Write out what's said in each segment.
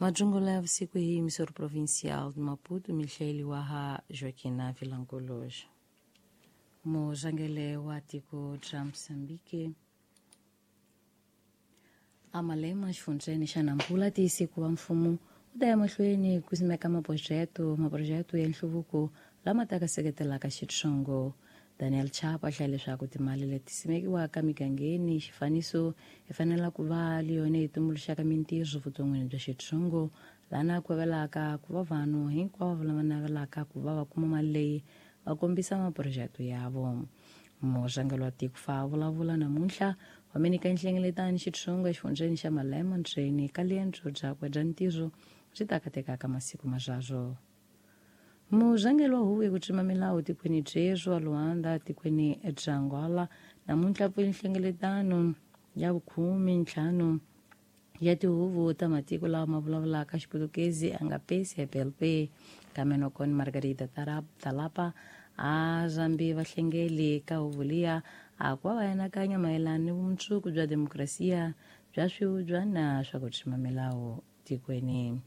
Majungula ya vusiku hi emissora provincial de Maputo, mihleli wa ha Joaquina Vilanculos. Murhangeri wa tiko ra Mozambique Amalema xifundzheni xa Nampula tiyise ku va mfumo wu ta ya mahlweni ku simeka maphurojeke ya nhluvuko lama taka seketelaka xitshongo. Daniel Chapo a hlaya leswaku timali leti simekiwaka migangeni xifaniso hi fanela ku va yona yi tumbuluxaka mintirho vuton'wini bya xitshongo lana ku avelaka ku va vanhu hinkwavo lava navelaka ku va va kuma mali leyi va kombisa maphurojeke ya vo. Murhangeri wa tiko fa vulavula namuntlha wa minika nhlengeletano xitshongo exifundzheni xa Malema ndzeni ka riendzo byakwe bya ntirho byi ta katekaka masiku mazwazwo. Murhangeri wa huvo ya ku tsima milawu tikweni byerhu wa Luanda tikweni bya Angola namuntlha pfule nhlengeletano ya vukhume-ntlhanu ya tihuvo ta matiko lawa ma vulavulaka Xiputukezi a nga PCPLP kambe nokoni Margarida Talapa a zambi vahlengeli ka huvo liya a ku va va anakanya mayelana ni vumundzuku bya demokrasiya bya swivubyana swa ku tsima milawu tikweni.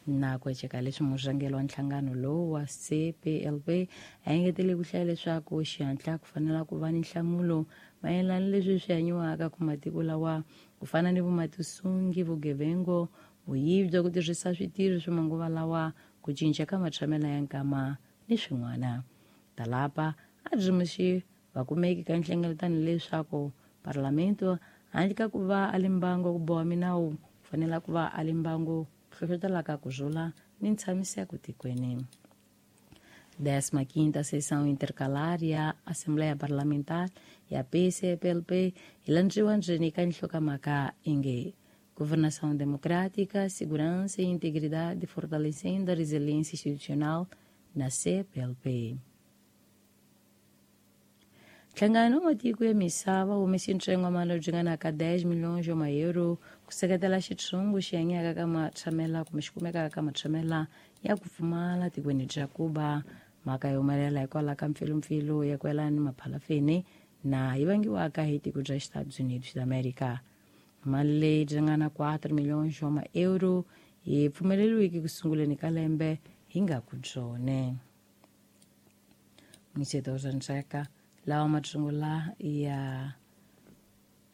Na ku eceka leswi murhangeri wa nhlangano lowu wa CPLP a engetele ku hlaya leswaku xihatla ku fanela ku va ni nhlamulo mayelana leswi swi hanyiwaka ku matiko lawa ku fana ni vumatisungi, vugevengo, vuyivi bya ku tirhisa switirho swa manguva lawa, ku cinca ka matshamelo ya nkama ni swin'wana. Talapa a byi vakumeki ka nhlengeletano leswaku parlamento handle ka ku va a li mbango ku boha minawu ku fanela ku va a li mbango hlohlotelaka ku rhula ni ntshamiseko tikweni. 15ª Sessão Intercalar ya Assembleia Parlamentar ya PCPLP yi landziwa ndzeni ka nhlokomhaka inge Governação Democrática, Segurança e Integridade fortalecendo a resiliência institucional na CPLP. Nhlangano wa matiko ya misava wu humese ntsengo wa mali byi nga ka 10 milhões wa maero ku seketela xitshungu xi hanyaka ka matshamela kumbe xi kumekaka ka matshamela ya ku pfumala tikweni bya Cuba. Mhaka yi humelela hikwalaho ka mpfilumpfilu ya ku yelana ni maphalafeni na yi vangiwaka hi tiko bya Estados Unidos da America. Mali leyi byi nga na 4 milhões wa maero yi pfumeleriweke ku sunguleni ka lembe hi nga ku byone. Mixeto Zanzeka lawa matsungula ya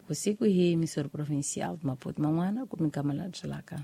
vusiku hi emissora provincial de Maputo man'wana ku minkama la byelaka.